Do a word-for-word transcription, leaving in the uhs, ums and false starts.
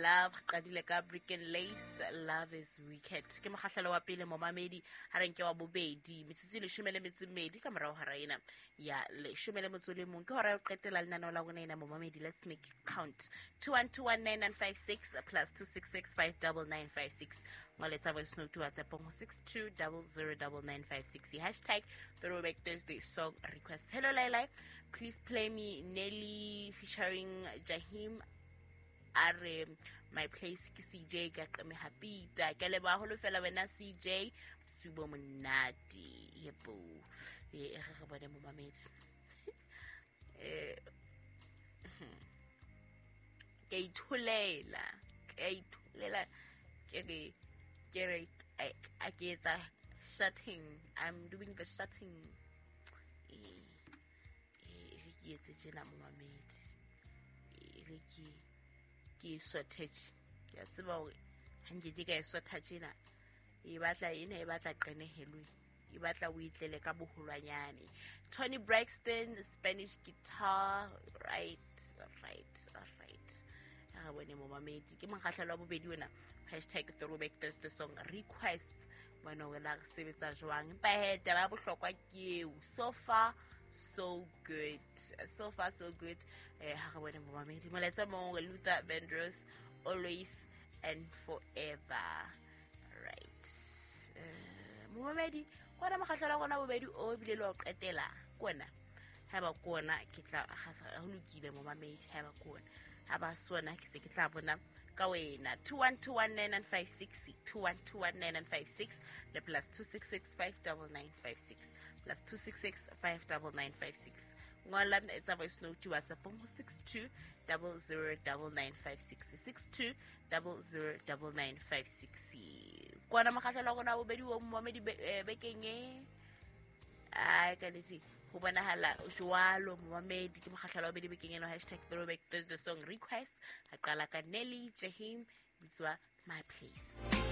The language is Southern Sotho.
Love qadile ka Brick and Lace, Love is Wicked. Ke mokgahlelo wa pele, momamedi. Ha re nke wa bobedi, metsotso e leshome le metso e mmedi ka morao hora ena ya leshome le motso le mong, ke hora ya ho qetela lenaneo la rona ena, momamedi. Let's make it count. Two one two one nine nine five six plus two six six five double nine five six. Ngoletsa voice note WhatsApp go six two double zero double nine five six, hashtag throwback Thursday song request. Hello Laila, please play me Nelly featuring Jahim, a re My Place. Ke C J ka qeme hapita. Ke leboha haholo fela wena C J, bosiu bo monate. Yebo, e re re bone, momamedi. eh ke itholela ke itholela ke re ke re a ke etsa shutting. I'm doing the shutting. Eh eh re ke etse tjena, momamedi. E re ke ke e shortage. Ke a tseba hore ha nkeke ka e sotha tjena, e batla ena, e batla qenehelwe, e batla o itlele ka boholwanyane. Toni Braxton, Spanish Guitar. right right right re bone, momamedi. Ke mokgahlelo wa bobedi ona, hashtag throwback Thursday song requests. Bona hore la re sebetsa jwang, empa he taba ya bohlokwa ke eo. So far so good, so far so good. eh ha re bone, momamedi. Molaetsa mong re Luther Vandross, Always and Forever. Right, eh momamedi, kona mokgahlelo wa rona bobedi o ebile le wa ho qetela kona. Haeba ke ona, ke tla ho lokile, momamedi. Haeba ke ona, ha ba se ona, ke se ke tla bona ka wena. two one two one nine nine five six, two one two one nine nine five six le plus two six six five nine nine five six, plus two six six five nine nine five six. Ngola, etsa voice note WhatsApp go six two double zero double nine five six, six two double zero double nine five six. Kona mokgahlelo wa rona wa bobedi o, momamedi, bekeng e. Ai, ka nnete ho bonahala jwalo, momamedi. Ke mokgahlelo wa bobedi bekeng eno, hashtag throwback Thursday song request. A qala ka Nelly, Jahim, bitswa My Place.